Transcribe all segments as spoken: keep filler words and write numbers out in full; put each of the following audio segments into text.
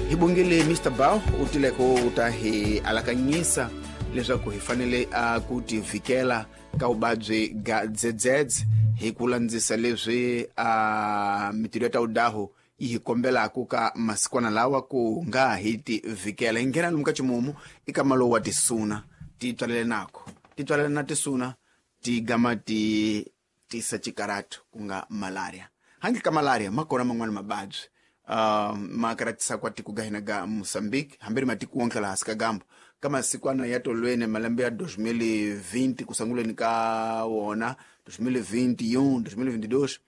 Hi bongile Mister Bao u tile ku ta hi alakanyisa leswaku hi fanele a ku tivikela ka vuvabyi ga dzedzedze hi ku landzisa leswi a mitirho ya ta udaho yi hi kombelaku ka masikwana lawa ku nga hi tivikela. Hi nghena lomu ka ximumu i ka malowu wa tisuna ti tswalele nako ti tswalele na tisuna ti gama ti tisa xikaratu ku nga malaria. Handle ka malaria ma kona man'wani mavabyi uh, ma karatisa kwa tiko ga hina ga Mozambique hambi ri matiko wonke laha hansi ka gambo ka masikwana ya tolweni malembe ya dois mil e vinte ku sunguleni ka wona dois mil e vinte e um, dois mil e vinte e dois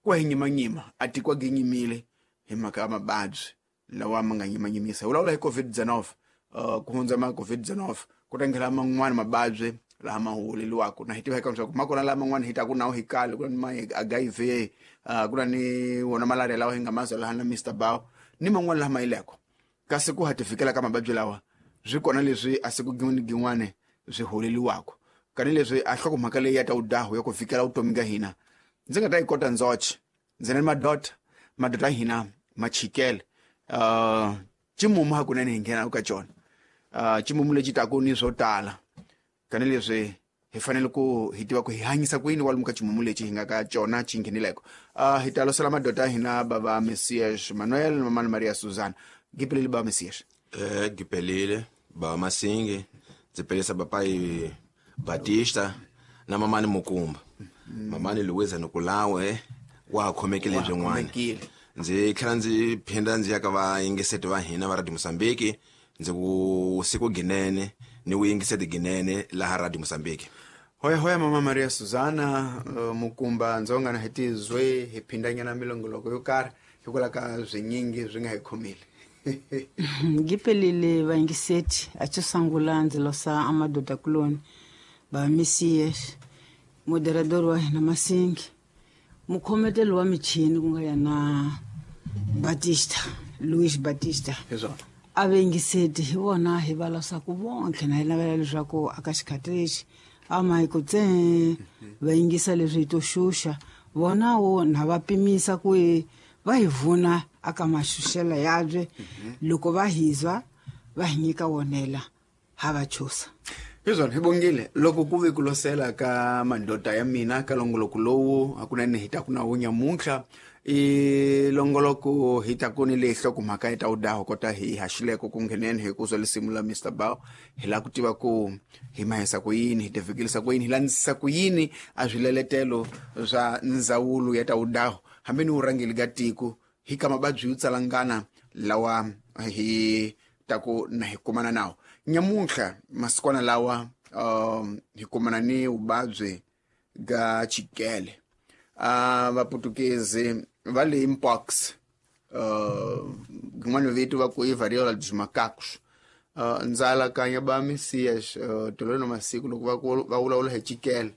ku hi nyimanyima a tiko gi nyimile hi mhaka ya mavabyi lawa ma nga nyimanyimisa. Hi vulavula hi COVID dezenove, uh, ku hundza ma COVID dezenove ku ta nghena man'wani mavabyi laha ma huweleliwaka na hi tiva eka leswaku ma kona laha man'wani hi taku nawu hi kale ku na ni ma H I V, uh, ku na ni wona malaria lawa hi nga mazwa laha na Mister Bao ni man'wani laha ma yileko. Kasi ku ha ti fikela ka mavabyi lawa swi kona leswi a siku gin'wana ni gin'wana swi huweleliwaka kani leswi a nhlokomhaka leyi ya ta udahu ya ku fikela vutomi ka hina ndzi nga ta yi kota ndzoxe ndzi na ni madoda madoda ya hina ma chikele uh, ximumu hakunene hi nghena ka xona uh, ximumu lexi taku ni swo tala kani leswi hi fanele ku hi tiva ku hi hanyisa ku yini kwalomu ka ximumu lexi hi nga ka xona xi nghenileko. Uh, hi ta losela madoda ya hina bava Messias Manuel na mamani Maria Suzana. Gipelile bava Messias. Eh, gipelile bava Masingi ndzi pelisa papai Batista na mamani Mukumba. Mamani Luiza Nikulawe wa ha khomekile Wa ha byin'wana. khomekile. Ndzi tlhela ndzi phinda ndzi ya ka vayingiseti va hina va Radio Mozambique ndzi ku siku ginene ni ku yingiseti ginene laha Radio Mozambique. Hoya hoya mama Maria Suzana uh, Mukumba ndzonga na hi tizwe hi phindanyana milongoloko yo karhi hikwalaho ka swinyingi swi nga hi khomile. Ngipelile vayingiseti a xo sungula ndzi losa a madoda kuloni ba Messias moderador wa hina Masingi mukhometeli wa michini ku nga yena Batista Luis Batista. Hi swona. A vayingiseti hi vona hi va losaku vonke na hi navela leswaku aka xikhathi lexi a ma hi ku tse va yingisa leswi hi to xuxa vona wo na va pimisa ku hi va hi vuna aka maxuxela yabye loko va hizwa va hi nyika wonela ha va chusa. Hi swona hi bongile loko ku ve ku losela ka madoda ya mina ka longoloko lowu hakunene hi ta ku na wu nyamuntlha i longoloko hi ta ku ni leyi nhlokomhaka yi ta wu kota hi haxileko ku ngheneni hi ku zwa lisimu la Mister Bao hi lava ku tiva ku hi mahisa ku yini hi tivikelisa ku yini hi landzisa ku yini a swileletelo swa ndzawulo ya ta wudaho hambi ni vurhangeri ka tiko hi ka mavabyi yo tsalangana lawa hi ta ku na hi kumana nawo nyamuntlha masikwana lawa um, hi kumana ni vuvabyi ga chikele. Uh, vaputukezi va le mpox uh, rin'wana vito va ku i variola dos macacos. Uh, ndza alakanya ba Messias uh, tolweni masiku loko va ku va vulavula hi chikele